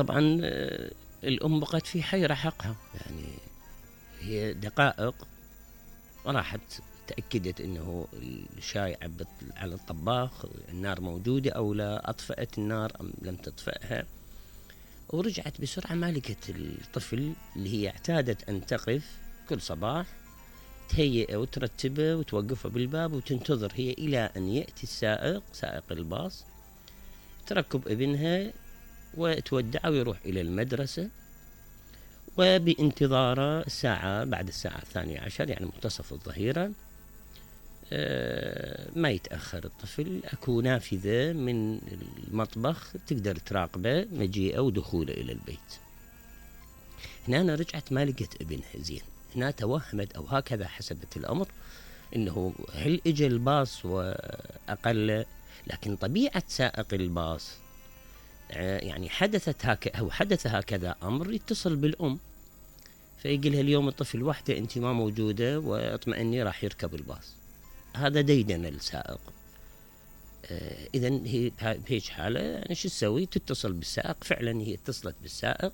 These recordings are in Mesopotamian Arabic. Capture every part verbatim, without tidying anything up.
طبعا الأم بقت في حيرة حقها، يعني هي دقائق راحت تأكدت أنه الشاي عبت على الطباخ، النار موجودة أو لا، أطفأت النار أم لم تطفئها، ورجعت بسرعة ما لقت الطفل اللي هي اعتادت أن تقف كل صباح تهيئه وترتبه وتوقفه بالباب وتنتظر هي إلى أن يأتي السائق سائق الباص، تركب ابنها وتودعه ويروح إلى المدرسة، وبانتظاره الساعة بعد الساعة الثانية عشر يعني منتصف الظهيرة ما يتأخر الطفل، أكو نافذة من المطبخ تقدر تراقبه مجيئه ودخوله إلى البيت. هنا أنا رجعت ما لقيت ابنها زين، هنا توهمت أو هكذا حسبت الأمر إنه هل إجا الباص وأقل، لكن طبيعة سائق الباص يعني حدثت هكذا أو حدث هكذا أمر يتصل بالأم فيقولها اليوم الطفل وحده أنت ما موجودة واطمئني راح يركب الباص. هذا ديدن السائق. آه إذن هي بهيج حالة يعني شو تسوي؟ تتصل بالسائق. فعلا هي اتصلت بالسائق،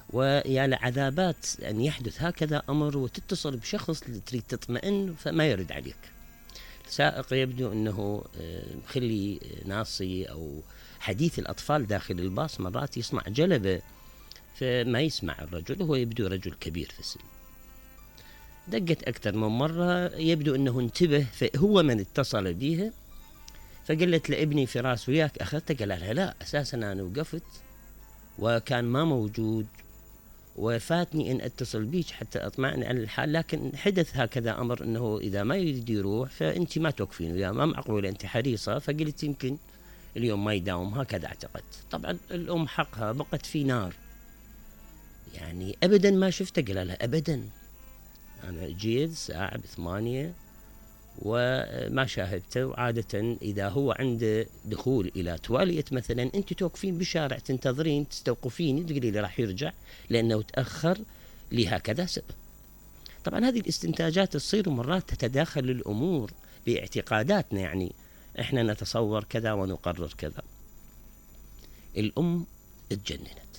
ويا لعذابات أن يحدث هكذا أمر وتتصل بشخص تريد تطمئن فما يرد عليك. السائق يبدو أنه مخلي ناصي أو حديث الأطفال داخل الباص مرات يصنع جلبة فما يسمع الرجل، وهو يبدو رجل كبير في السن. دقت أكثر من مرة، يبدو أنه انتبه فهو من اتصل بيها، فقالت لابني فراس وياك أخذته؟ قال لها لا أساسا أنا وقفت وكان ما موجود وفاتني أن أتصل بيك حتى أطمئن على الحال، لكن حدث هكذا أمر أنه إذا ما يريد يروح فأنت ما توقفين وياه، ما معقولة أنت حريصة، فقلت يمكن اليوم ما يداوم، هكذا اعتقدت. طبعا الأم حقها بقت في نار، يعني أبدا ما شفته. قال لها أبدا أنا جيت الساعة بثمانية وما شاهدته، وعادة إذا هو عنده دخول إلى توالية مثلا أنت توقفين بالشارع تنتظرين تستوقفين تقولي لي راح يرجع لأنه تأخر لهكذا سبب. طبعا هذه الاستنتاجات تصير مرات تتداخل الأمور باعتقاداتنا، يعني إحنا نتصور كذا ونقرر كذا. الأم اتجننت،